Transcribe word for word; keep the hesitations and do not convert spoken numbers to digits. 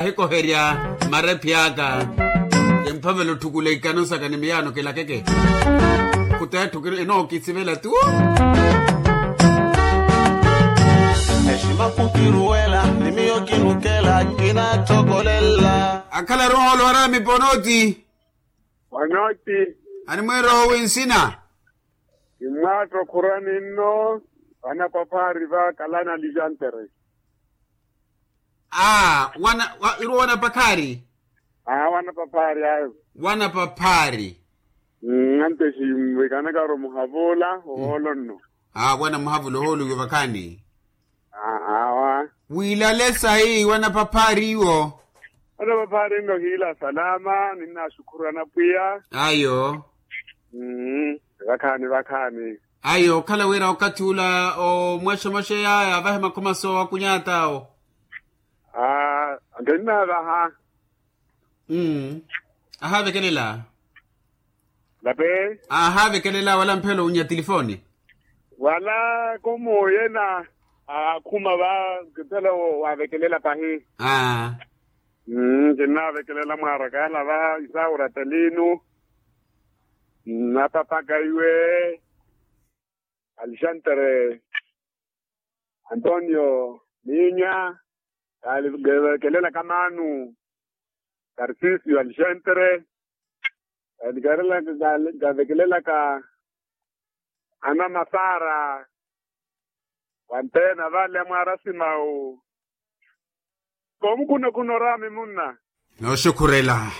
Ahikoherya marephi aka. Kimphavela otthukula ikano saka ni miyaano kilakeke. Khutetthu kino enookisivela tu. Exima khukiruwela ni miyo kinukela kinatthokolela. Akhala roho olwara miponoti. Wanoti. Animwiroho winsina. Kimwaatto khurani nno. Vana paphaari va kalana lijantere. Aa wana iruwo wana paphaari. Aa wana paphaari ayo. Wana paphaari. Anteshi mwikanakaro muhavula ohoolo nno. Aa wana muhavula ohoolo iwo vakhaani. Awa. Wiilale sayi wana paphaari iwo. Wana paphaari nno hiila salama ninnaxukhuru anapwiya. Ayo. Vakhaani vakhaani. Ayo okhala wira okathi ula omwaxomaxeya yavahe makhomaso akunyata awo. Antenna vaha. Ahavekelela. Lape. Ahavekelela wala mphelo unya tilifoni. Wala komo yena akhuma va. Mphelo wavekelela pahi. Aa. Kinnavekelela mwaarakaala va isaura telinu. Napapaka iwe. Alexandre. Antonio. Minya. Kaali nkevekelelaka maanu. Karsisio alexandre. Kaali kavekelelaka. Ana masara. Wantena vale amwarasimawu. Komukhunakhuno rami munna. Nooxukhurela.